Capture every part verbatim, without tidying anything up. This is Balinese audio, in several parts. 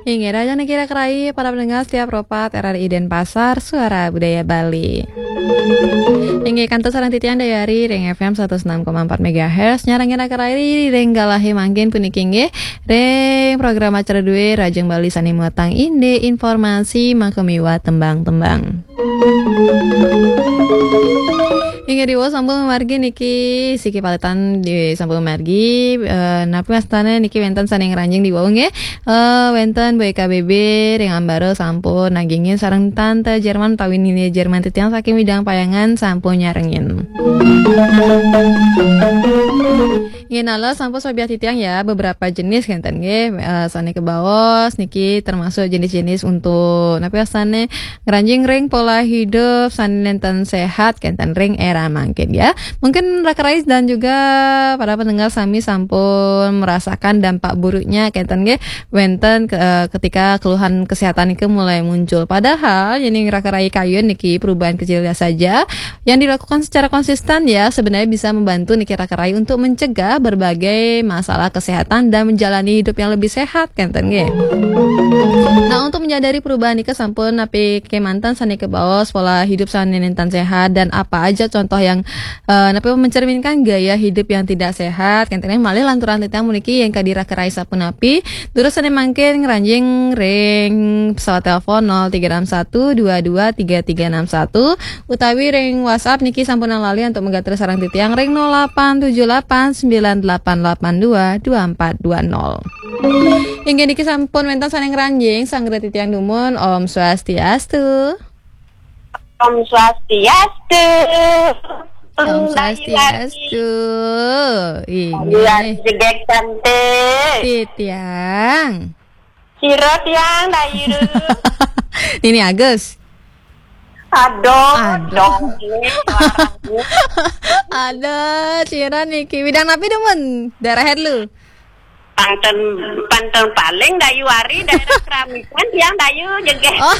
Inggih, rahajeng niki raka rayi para pendengar setia Pro pat R R I Denpasar, Suara Budaya Bali. Inggih, kantun sareng titiang Dayari ring F M seratus enam koma empat megahertz, nyarengin raka rayi ring galahé mangkin puniki inggih, ring program acara dué Rahajeng Bali sané muatang indik informasi maka miwah tembang-tembang. Inggih, diwau sampun mamargi niki, siki paletan di sampun mamargi, eh, napi wastané niki wénten sané ngranjing diwau nggih. Eh, wénten Bu Eka B B ring Ambara sampun nagingin sareng Tante Jerman utawi Nini Jerman titiang saking Widang Payangan sampun nyarengin. Nggih, nala sampun sobiah titiang ya, beberapa jenis kénten nggih, eh, sané kabaos niki termasuk jenis-jenis untuk napi wastané ngranjing ring pola hidup sané nénten sehat kénten ring era mangkin ya. Mungkin raka rayi dan juga para pendengar sami sampun merasakan dampak buruknya kénten nggih. Wénten ke-, eh, ketika keluhan kesehatan niki mulai muncul. Padahal yén raka rayi kayun niki perubahan kecil saja yang dilakukan secara konsisten ya sebenarnya bisa membantu niki raka rayi untuk mencegah berbagai masalah kesehatan dan menjalani hidup yang lebih sehat, kénten nggih. Nah, untuk menyadari perubahan nika sampun napi kémanten sané kabaos pola hidup sané nénten sehat dan apa aja contoh yang, eh, napi mencerminkan gaya hidup yang tidak sehat, kénten malih lanturang titiang puniki yang kadi raka rayi sapunapi. Durus sané mangkin ngranjing ring pesawat telepon nol tiga enam satu dua dua tiga tiga enam satu utawi ring WhatsApp niki sampunang lali untuk megatur sareng titiang ring nol delapan tujuh delapan sembilan delapan delapan dua dua empat dua nol. Inggih niki sampun wénten sané ngranjing, sanggra titiang dumun, Om Swastiastu. Om Swastiastu. Om Swastiastu. Inggih. Jegég cantik. Titiang. Sira tiang, Dayu. Nini Agus. Aduh, aduh. Dong, ini suaranya. Aduh, sira niki. Widang napi dumun? Daerah lu? Pantun, pantun paling Dayu Ari, daerah Keramikan, tiang Dayu, jegég. Oh.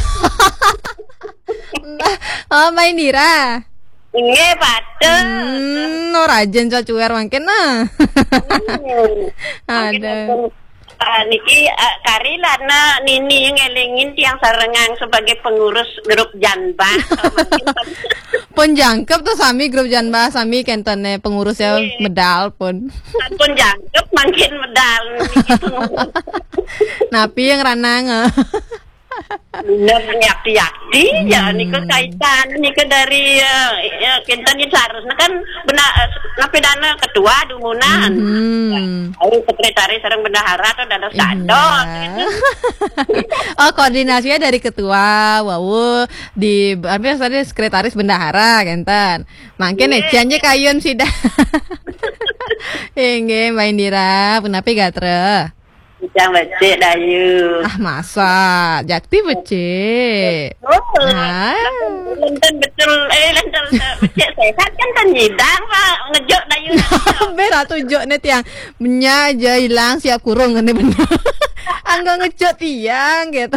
Mbah, oh, Mbah Indira. Inggih, patut. Hmm, oh, rahajeng cucuér mangkin, nah. Hmm. Mangkin ada. Ampun, ah, niki, ah, kari lana nini ngélingin tiang sarengang sebagai pengurus grup Janbah. Mangkin pun jangkep tuh sami grup Janbah, sami kénten pengurusnya. Nggih. Medal pun. Pun jangkep mangkin medal niki pengurus. Napi yang ranang? Bener, yakti-yakti ya, hmm, nika kaitan, nika dari, eh, ya, kita ni seharusnya kan benda, eh, napi dana ketua dumunan. Hmm. Lalu sekretaris sareng bendahara atau dados, iya, kadot. Oh, koordinasinya dari ketua, wau, di, apa ya, tadi sekretaris bendahara, kénten. Mangkin, iya, nih, cian kayun sida. Inggih, Mbak Indira, punapi gatra? Titiang becik, Dayu. Ah, masa? Jakti becik. Oh, ah. Lenten betul, eh, lenten becik sehat kan, tan nyidang, Pak. Ngejuk, Dayu. Bé ratu juk né tiang. Benya aja hilang siap kurung kan, bener. Anggo ngejuk tiang gitu.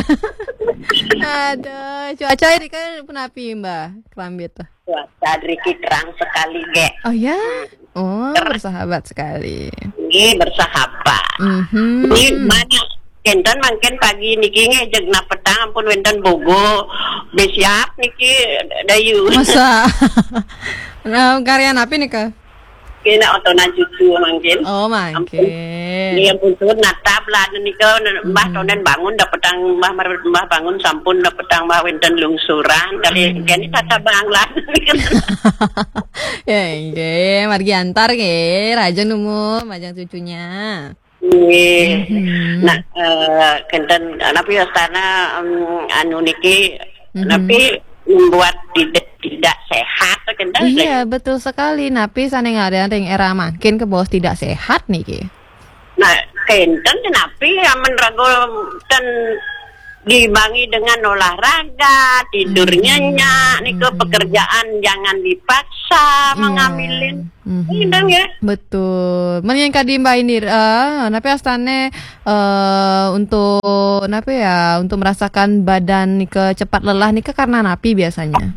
Aduh, cuaca ini kan punapi, Mbak? Kelambi tuh. Cuaca driki terang sekali, gé. Oh ya? Hmm. Oh, terang. Bersahabat sekali. Nggih, bersahabat. Mhm. Ini mana kénten mangkin pagi niki nggih, jeg nah petang ampun wénten bogo. Bé siap niki, Dayu. Masa? Nah, karya napi nika? Kena otonan cucu mangkin. Oh, mangkin. Ampun. Iya, ampun, suhun natap lah nika, Mbah, mhm, tondén bangun dapetang Mbah, Mbah bangun sampun dapetang Mbah wénten lungsuran kali, mhm, kene tata banglan. Ya, inggih, margi antar nggih, rahajeng numun, majeng cucunya. Nggih. Mhm. Nah, eh, kénten napi wastana, em, anu niki, mhm, napi membuat tidak, tidak sehat, kénten. Iya, betul sekali. Napi sané ngaran ring era mangkin kabaos tidak sehat niki. Nah, kénten napi amun raga ten diimbangi dengan olahraga, tidur, hmm, nyenyak, niku, hmm, pekerjaan jangan dipaksa, iya, mengambilin. Mhm. Kénten ya. Betul. Men yang kadi Mbak Indira, napi astané, eh, untuk napi ya, untuk merasakan badan nika cepat lelah nika karena napi biasanya?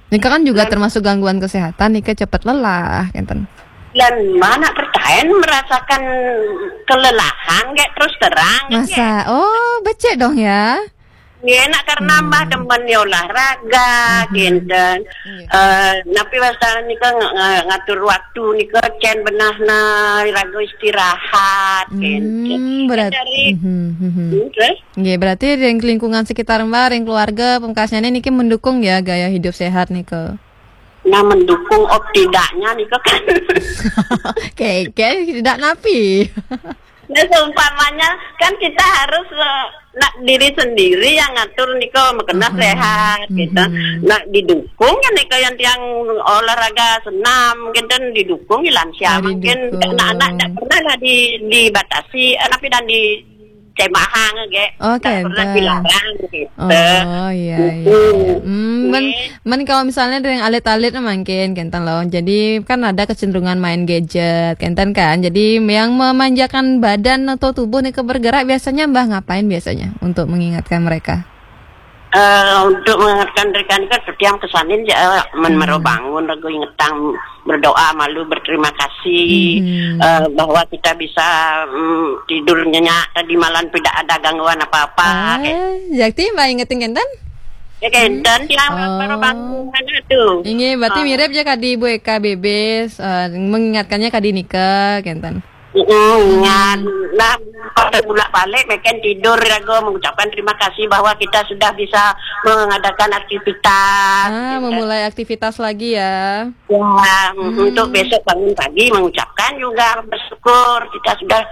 Nika kan juga termasuk gangguan kesehatan, nika cepet lelah, kénten. Lan mana pertaen merasakan kelelahan, kayak terus terang, masa? Oh, Cek dong ya. Nggih, nak karena Mbah demen ya olahraga, kinten. Eh, napi wastan nika ng-, ng-, ngatur waktu nika cen benahna raga istirahat, kinten. Hmm, berat. Dari Mhm, mhm. Hmm, terus? Nggih, berarti ring lingkungan sekitar Mbah, ring keluarga, pemekasnyané niki mendukung ya gaya hidup sehat nika. Nah, mendukung op tidaknya nika kan. Oke, oke, tidak napi. Nah, seumpamanya kan kita harus, eh, nak diri sendiri yang ngatur nika makena sehat gitu. Nah, didukung ya nika yang tiang olahraga senam gitu, didukung ya lansia. Ah, mungkin didukung. Anak-anak tidak pernah lah di, dibatasi, eh, tapi dan di cemahang ge. Oh, tak pernah dilarang gitu. Oh, iya, iya, iya. Hmm, men, men kalau misalnya dari yang alit-alit mungkin kenten loh. Jadi kan ada kecenderungan main gadget, kenten kan. Jadi yang memanjakan badan atau tubuh nih ke bergerak biasanya Mbah ngapain biasanya untuk mengingatkan mereka? Eh, untuk mengingatkan mereka ini kan setiap kesanin ya men mero bangun ragu ingetang berdoa malu berterima kasih, eh, bahwa kita bisa, mm, tidur nyenyak tadi malam tidak ada gangguan apa-apa. Ah, jakti Mbah ingetin kenten? Ya kenten tiang mero bangun tuh. Inggih, berarti mirip aja kadi Ibu Eka Bebes, eh, mengingatkannya kadi nika kenten. Mm, ingat. Nah, pada bulak balik meken tidur ragu mengucapkan terima kasih bahwa kita sudah bisa mengadakan aktivitas. Ah, memulai aktivitas lagi ya. Ya, untuk besok bangun pagi mengucapkan juga bersyukur kita sudah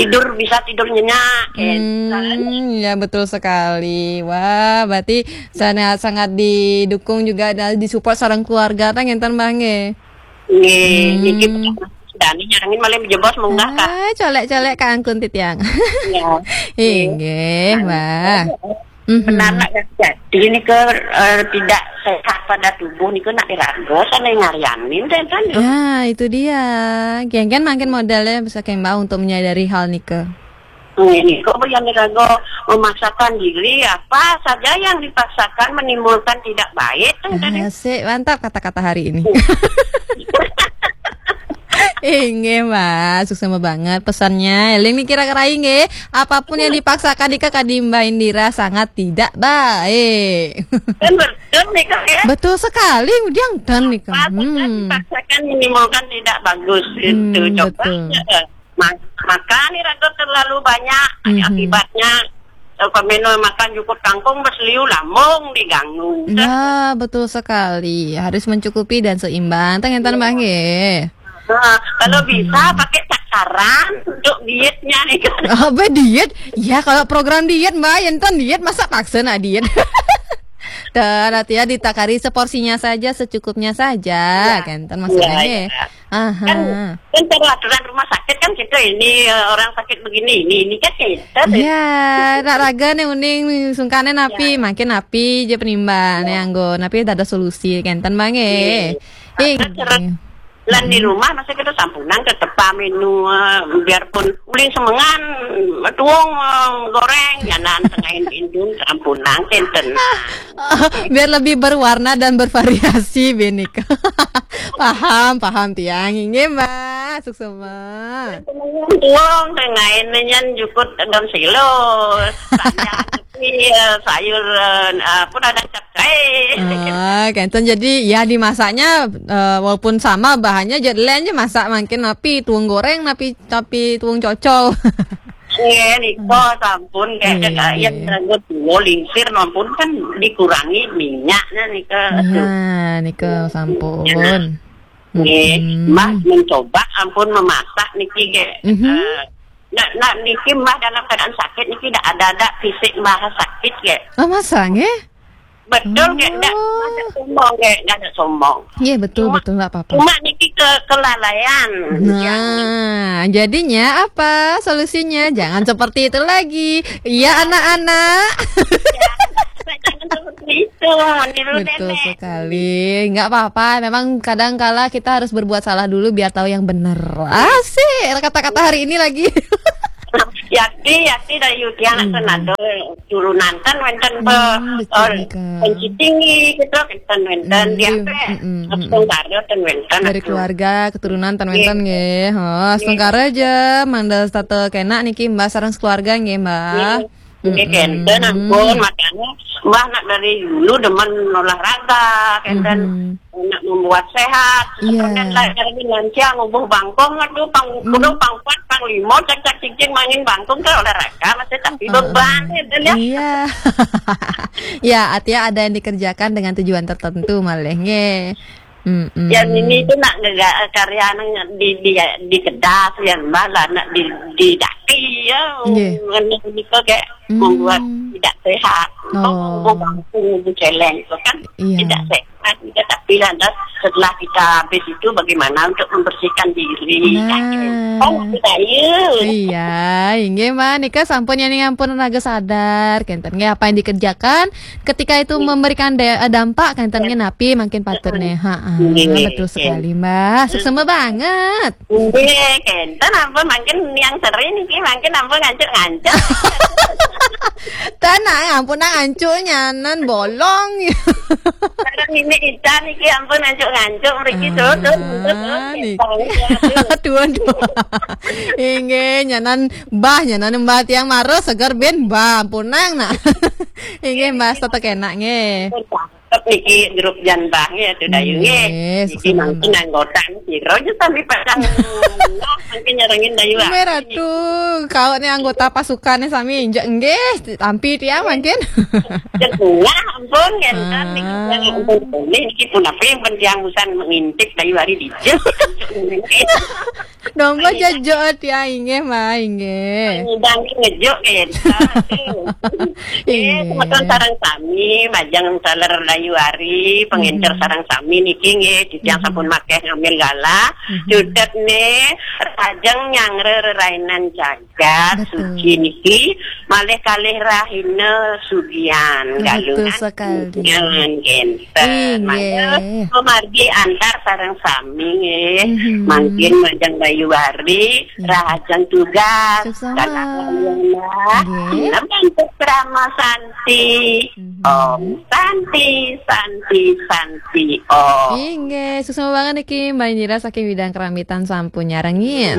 tidur, bisa tidur nyenyak. Hmm, ya betul sekali. Wah, berarti sangat, sangat didukung juga dan disupport sareng keluarga ta ngenten Mbah nggih. Nggih, niki pertama dani nyarengin malah jebos munggah ka. Ah, colek-colek ka angkun titiang. Ya. Inggih, Mbah. Benar nak jadi ini ke, eh, tidak sehat pada tubuh niku nak diraga sana ngarianin tenten. Nah, itu dia. Kengken mangkin modalnya bisa keng Mbah untuk menyadari hal nika. Ini kok yang diraga memaksakan diri, apa saja yang dipaksakan menimbulkan tidak baik tenten. Asik, mantap kata-kata hari ini. Inggih, Mbah, suksma banget pesannya. Eling niki kira-kira inggih, apapun yang dipaksakan nika kadi Mbah Indira sangat tidak baik. Kan betul nih, Kak, ya? Betul sekali, udiang ten nika. Apapun yang dipaksakan menimbulkan tidak bagus itu. Hmm, coba betul. Ya. Ma-, makan nih raga terlalu banyak, ada akibatnya. Kalau minum makan cukup kangkung, bes liu lambung diganggu. Ya, betul sekali. Harus mencukupi dan seimbang. Teng enten Mbah nggih. Nah, kalau bisa pakai takaran untuk dietnya nih kan. Apa diet? Ya, kalau program diet, Mbah, enten diet, masa paksa nak diet? Dan artinya ditakari seporsinya saja, secukupnya saja, kenten maksudnya. Ya, ya. Aha. Kan, kan peraturan rumah sakit kan kita ini, eh, orang sakit begini, ini, ini kan kita. Ya, nak raga nih uning, sungkane napi, makin napi aja penimbang, nih anggo, napi ada solusi, kenten Mbah nggih. Iya. Ing. Karena terus lan di rumah masa kita sampunang tetep minum, eh, biarpun uling semengan, tuung, eh, goreng, ya nan tengahin indung sampunang, kenten. Biar lebih berwarna dan bervariasi, benika. Paham, paham tiang. Inggih, Mbah. Suksma. Tuung, tengahin nyan jukut daun silo. Sayur, iya, sayur, eh, apa ada capcay. Ah, kenten jadi ya dimasaknya, eh, walaupun sama bahannya jadi lain aja masak mungkin napi tuung goreng, napi, napi tuung cocol. Nggih, nika sampun kayak, iya, kayak iya, yang rambut tua lingsir ampun kan dikurangi minyaknya nika. Iya, nika sampun. Nggih, Mbah mencoba ampun memasak niki ge. Eh, nak, nak niki Mbah dalam keadaan sakit niki dak ada, ada fisik Mbah sakit ge. Oh, masa nggih? Betul, Kak. Ndak, ndak sombong, Kak. Ndak sombong. Iya, betul, cuma, betul, nggak apa-apa. Cuma niki ke-, kelalaian. Nah, jadinya apa solusinya? Jangan seperti itu lagi. Iya, anak-anak. Ya, jangan seperti itu. Meniru nenek. Betul sekali. Nggak apa-apa. Memang kadang kala kita harus berbuat salah dulu biar tahu yang benar. Asik. Kata-kata hari ini lagi. Yakti, yakti dari Yuti anak Senado. Turunan ten wenten pe-, eh, Penci Tinggi gitu, wenten, wenten dia pe. Astungkara ten wenten. Dari keluarga keturunan ten wenten nggih. Oh, astungkara aja mangda setata kena niki Mbah sareng sekeluarga nggih, Mbah. Nggih, kenten ampun, makanya Mbah nak dari dulu demen olahraga, kenten nak membuat sehat. Iya. Kenten lah, jadi lansia ngubuh bangkong, aduh, pang, kudu pang kuat, pang limo, cak-cak cicing, main bangkong, kan olahraga, masih tapi beban, kenten ya. Iya. Ya, artinya ada yang dikerjakan dengan tujuan tertentu, malih, nggih. Mm-mm. Yang ini itu nak nggak karya nang di, di, di kedas, yang malah nak di, di daki, ya. Nggih. Ngene niku kayak membuat tidak sehat. Oh. Ngubuh bangkong, ngubuh celeng itu kan tidak sehat. Iya, tapi lantas setelah kita habis itu bagaimana untuk membersihkan diri? Nah. Oh, kita, iya. Iya, inggih, Mbah. Nika sampun, yani, ampun raga sadar. Kenten nggih apa yang dikerjakan ketika itu memberikan da-, eh, dampak, kenten nggih napi mangkin patut nih. Ha, nggih, betul sekali, Mbah. Suksma banget. Nggih, kenten ampun, mangkin yang sering niki, mangkin ampun ngancuk-ngancuk. Tenang, ampun, nang ancuk nyanan bolong. Sekarang ini kita niki ampun ngancuk-ngancuk, mriki, ah, tuh, tuh, tuh, tuh, niki. Aduh, aduh. Inggih, nyanan Mbah, nyanan Mbah tiang marus, seger bin Mbah, ampun nang, nak. Inggih, Mbah, tetep enak nggih. Tetep niki grup jan Mbah nggih, tuh, Dayu nggih. Nggih, niki mangkin anggota niki, rojo sampai pasang. Nah, mangkin nyarengin Dayu, ah. Nggih, Ratu, kau nih anggota pasukannya sami, injak nggih, tampi tiang mangkin. Cek bunga, ampun, kenten niki, ah, ampun, boleh niki pun apa yang penting usan mengintip Dayu hari dijak. Donggo jejo tiang, inggih, Mbah, inggih. Ngundang ngejuk, kenten. Eh, inggih. Semeton sareng sami, majeng taler Dayu hari, pengincer sareng sami niki nggih, titiang sampun makeh ngambil gala. Cutet nih, rajeng nyangre rerainan jagat, betul, suci niki, malih kalih rahina sugian, betul galungan sekali. Sugian, kenten. Inggih. Mangga pamargi antar sareng sami nggih. Mangkin majeng Dayu hari, rahajeng tugas. Suksma. Dalam nggih. Nembang putra Santi. Om Santi, Santi, Santi, Om. Inggih, suksma banget niki Mbah Indira saking Widang Keramitan sampun nyarengin.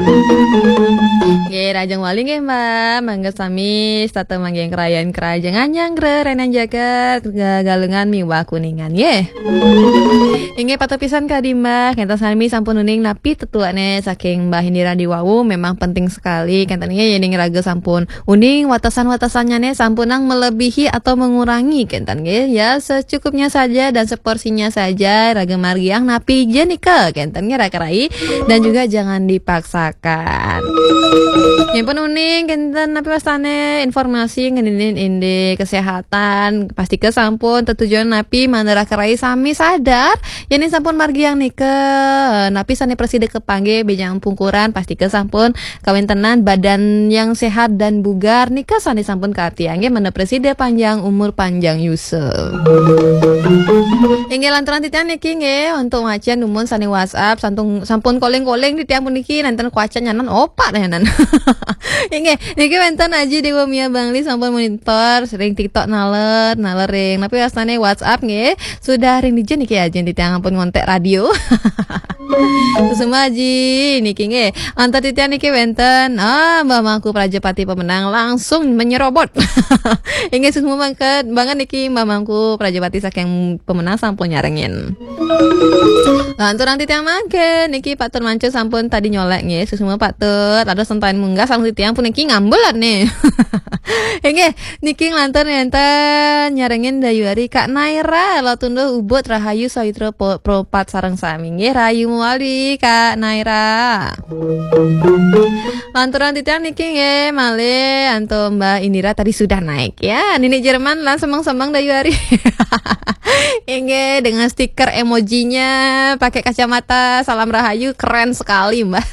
Nggih, rahajeng wali nggih, Mbah. Mangga sami setata manggihin kerayan kerajengan nyanggra renan jagat, ga-, galungan miwah kuningan nggih. Inggih, patut pisan kadi Mbah, kenten sami sampun uning napi tetuane saking Mbah Indira diwawu memang penting sekali. Kenten nggih, yening raga sampun uning, watesan-watesannya nih sampun nang melebihi atau mengurangi, kenten nggih. Ya, secukupnya saja dan seporsinya saja, raga margiang napi ja nika, kenten nggih, raka rai, dan juga jangan dipaksakan. Nyampun uning, kenten napi wastane informasi ngeninin indik kesehatan, pastika sampun tetujuan napi manera kerai sami sadar, yening sampun margiang nika, napi sane prasida kepanggih bejang pungkuran, pastika sampun kawentenan badan yang sehat dan bugar nika sane sampun kaatiang nggih, manera prasida panjang umur panjang yusa. Inggih lanturang titiang niki nggih, untuk macan dumun sane WhatsApp, santung, sampun calling-calling titiang puniki, nanten kuacan nyanan opak nyanan. Inggih, niki wenten Aji Dewa Mia Bangli sampun monitor ring TikTok naler, naler ring. Napi wastane WhatsApp nggih, sudah ring dija niki Aji titiang ampun ngontek radio. Suksma Aji, niki nggih. Antar titiang niki wenten, ah, Mbah Mangku Prajapati pemenang langsung menyerobot. Inggih, suksma banget, banget niki Mbah Mangku Prajapati saking pemenang sampun nyarengin. Lanturang titiang mangkin, niki Pak Tur Mancur sampun tadi nyolek nggih, suksma Pak Tur. Ada sentain munggah sampun titiang puniki ngambelan nih. Inggih, niki nglantur nenten nyarengin Dayuari Kak Naira, Lotunduh Ubud Rahayu Sawitra po-, Propat sareng sami. Nggih, rahayu mawali Kak Naira. Lanturang titiang niki nggih, malih antuk Mbak Indira tadi sudah naik ya. Nini Jerman lan semeng-semeng Dayuari. Inggih, dengan stiker emojinya, pakai kacamata, salam rahayu, keren sekali, Mbak.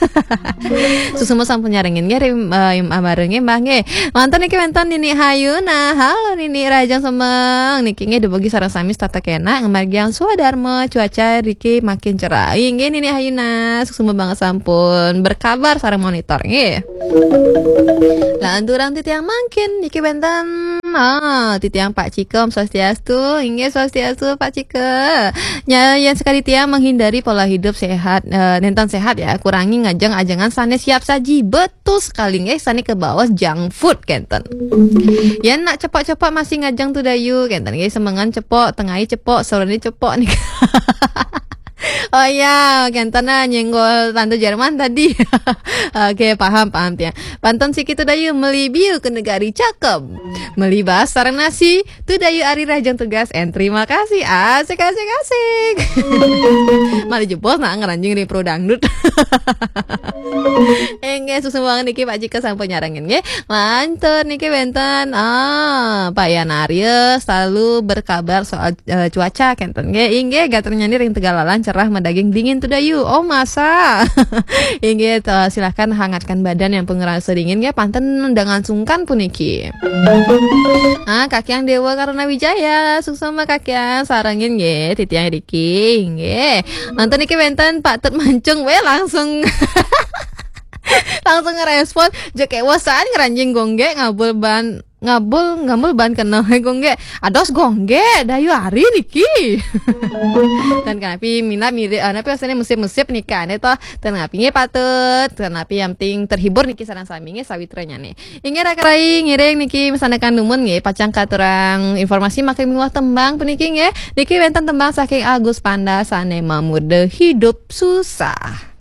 Suksma sampun nyarengin nggih, rim, eh, im, abareng nggih, Mbak nggih. Lantur niki wenten Nini Hayuna. Halo Nini, rahajeng semeng. Niki nggih dumogi sareng sami setata kenak ngamargiang swadarma, cuaca riki makin cerah. Inggih Nini Hayuna, suksma banget sampun berkabar sareng monitor nggih. Lanturang titiang mangkin niki wenten Ah, titiang Pak Cika, Om Swastiastu. Inggih, Swastiastu, Pak Cika. Nya, yen sakadi tiang menghindari pola hidup sehat, eh, nenten sehat ya, kurangi ngajeng ajengan sane siap saji. Betul sekali, nggih, sane kebaos junk food, kenten. Yen nak cepok-cepok masih ngajeng tu dayu, kenten, nggih, semengan cepok, tengai cepok, sorene cepok nih. Oh ya, kenten nah nyenggol Tante Jerman tadi. Oke, paham, paham tiang. Pantun siki tu dayu, meli biu ke negari cakep. Meli bas sareng nasi, tu dayu ari rahajeng tugas, and terima kasih. Asik, asik, asik. Malah jebos nak ngranjing ring pro dangdut. Inggih, suksma niki Pak Cika sampun nyarengin nggih. Lantur niki wenten, ah, Pak Yan Arya selalu berkabar soal, eh, cuaca kenten nggih. Inggih, gaternya ring Tegalalang cerah madaging dingin tu dayu. Oh, masa? Inggih, to, silahkan hangatkan badan yang pun ngerasa dingin nggih, panten dengan sungkan puniki. Ah, Kakiang Dewa Karuna Wijaya, suksma Kakiang sarengin nggih, titiang Riki nggih. Nonton niki wenten Pak Tut Mancung, weh, langsung langsung ngerespon, jek kewasan ngranjing gongge ngabul ban ngabul ngabul ban kenal gongge. Ados gongge, dayu ari niki. Dan kanapi minat mirip, ah, napi asline mesip-mesip nika ne toh. Dan kanapi nggih patut, dan kanapi yang penting terhibur niki sareng sami nggih sawitranya nih. Inggih raka rai ngiring niki masanekan dumun nggih, pacang katurang informasi makin miwah tembang puniki nggih. Niki wenten tembang saking Agus Panda sane mamurda Hidup Susah.